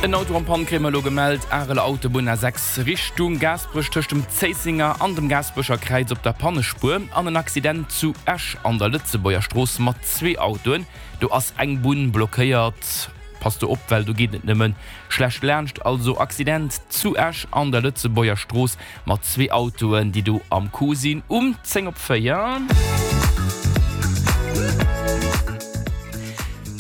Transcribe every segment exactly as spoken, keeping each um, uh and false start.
En Auto en panne kréie mer elo gemellt, Areler Autobunn A sechs Richtung Gaasperech tëscht dem Zéissenger an dem Gaasperecher Kräiz op der Pannespuer an en Accident zu Esch an der Lëtzebuerger Strooss mat zwee Autoen. Do ass eng Bunn blockéiert. Passt do op, well do geet et nëmmen schlecht laanscht. Also Accident zu Esch an der Lëtzebuerger Strooss mat zwee Autoen, déi do am Coup sinn um zéng op véier.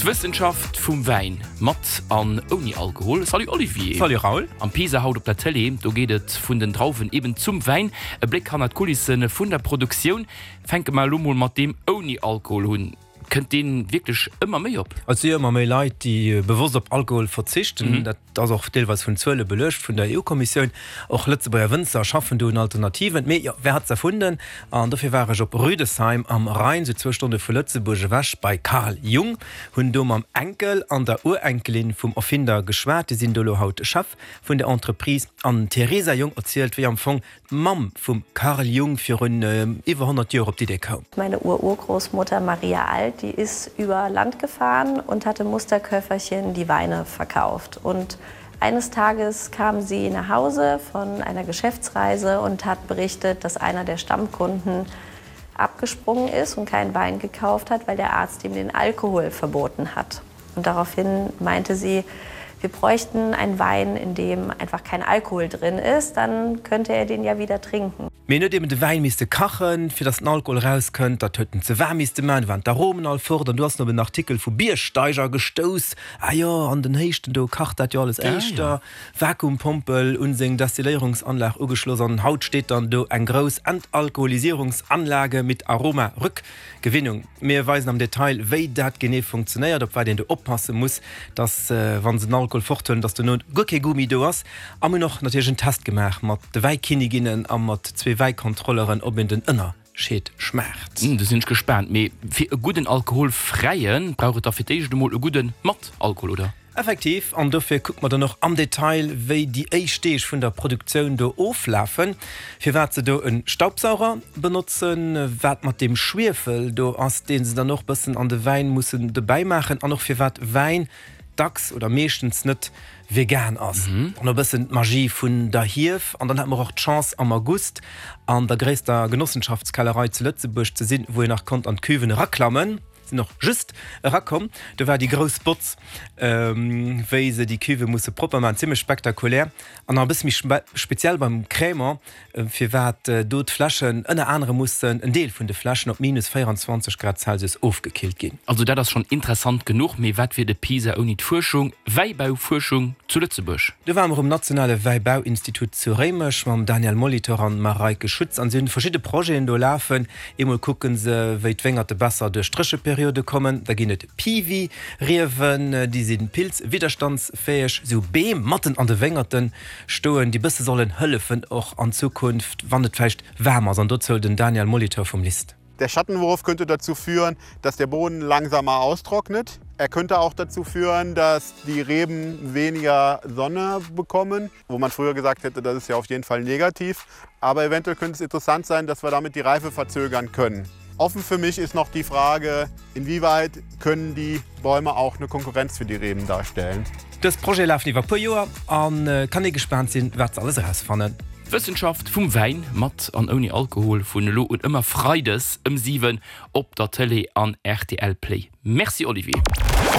D'Wëssenschaft vum Wäin, mat an ouni Alkohol. Salut Olivier. Salut Raoul. Am Pisa haut op der Tëlee, do geet et vun den Drauwen eben zum Wäin. E Bléck hannert d'Kulisse vun der Produktioun. Fänke mer elo mol mat deem ouni Alkohol hunn. Kënnt dee wierklech ëmmer méi op? Et si jo ëmmer méi Leit, déi bewosst op Alkohol verzichten. Dat ass och deelweis vun Zuele beluecht vun der E U-Kommissioun. Och Lëtzebuerger Wënzer schaffen do un Alternativen. Mee jo, wer hat's erfunden? An dofir war ech op Rüdesheim am Rhein, sou zwou Stonne vu Lëtzebuerg ewech, bei Carl Jung. Hunn do mam Enkel an der Urenkelin vum Erfinder geschwat. Déi sinn do elo haut Chef vun der Entreprise. An d'Theresa Jung erzielt, wéi am Fong d'Mamm vum Carl Jung virun iwwer honnert Joer op d'Idee koum. Meine Ururgroßmutter Maria Alt, die ist über Land gefahren und hat im Musterköfferchen die Weine verkauft. Und eines Tages kam sie nach Hause von einer Geschäftsreise und hat berichtet, dass einer der Stammkunden abgesprungen ist und keinen Wein gekauft hat, weil der Arzt ihm den Alkohol verboten hat. Und daraufhin meinte sie, wir bräuchten einen Wein, in dem einfach kein Alkohol drin ist, dann könnte er den ja wieder trinken. Mee en huet eben de Wäin misste kachen, fir dass den Alkohol erauskënnt. Dat huet en ze waarm misste man, du waren d'Aromen all fort. An du ass en op en Artikel vu Biergsteiger gestouss, Ah jo, an den Héichten do kacht dat jo alles éischter. Vakuumpompel un seng Destilléierungsanlag ugeschloss an haut steet dann do eng grouss Entalkoholisierungsanlage mit Aroma-Rückgewinnung. Mir weisen am Detail, wéi dat genee funktionéiert, op wat een do oppasse muss, dass, wa se den Alkohol forthuelen, dass dono guer kee Gummi do ass. A mir hunn och natierlech en Test gemaach mat de Wäikinniginnen a mat zwee Wäikontrolleren, ob een den Ënnerscheed schmaacht. Do sinn ech gespaant. Mee fir e gudden alkoholfräie brauch et da fir d'éischt emol e gudde mat Alkohol, oder? Effektiv, an dofir kucke mer dann och am Detail, wéi déi éischt Deeg vun der Produktioun do oflafen, firwat se do e Staubsauger benotzen, wat mat deem Schwiefel do ass, dee se dann och bëssen an de Wäin mussen dobäi maachen, an och firwat Wäin dacks oder meeschtens net vegan ass. An och e bëssen d'Magie vun der Hief. An dann hate mer och d'Chance, am August an der gréisster Genossenschaftskellerei zu Lëtzebuerg ze sinn, wou een nach konnt an d'Cuven eraklammen. Sinn och just erakomm, do war déi grouss Botz, wéi se déi Cuve musse propper maachen, zimmlech spektakulär. An nach e bësse méi speziell beim Crémant, firwat do d'Fläschen ënner anerem mussen, en Deel vun de Fläschen, op minus véieranzwanzeg Grad Celsius ofgekillt ginn. Also dat ass schonn interessant genuch, mee wat wier de PISA ouni d'Fuerschung, Wäibaufuerschung zu Lëtzebuerg? Do ware mer um nationale Wäibauinstitut zu Réimech mam Daniel Molitor an Mareike Schütz an si hunn verschidde Projeten do lafen. Eemol kucke se, wéi d'Wéngerte besser duerch d'Drécheperiode kommen. Da ginn et Piwi-Riewen, déi si pilzwidderstandsfäeg. Sou Beem matten an de Wéngerte stoen, déi bësse sollen hëllefen, och an Zukunft, wann et vläicht waarm ass. An dozou den Daniel Molitor vum LIST. Der Schattenwurf könnte dazu führen, dass der Boden langsamer austrocknet. Er könnte auch dazu führen, dass die Reben weniger Sonne bekommen, wo man früher gesagt hätte, das ist ja auf jeden Fall negativ. Aber eventuell könnte es interessant sein, dass wir damit die Reife verzögern können. Offen für mich ist noch die Frage, inwieweit können die Bäume auch eine Konkurrenz für die Reben darstellen. Dës Projete lafen iwwer puer Joer a kann ee gespaant sinn, wat se alles erausfannen. D'Wëssenschaft vum Wäin mat an ouni Alkohol vun elo un ëmmer freides ëm siwen op der Tëlee an R T L Play. Merci Olivier.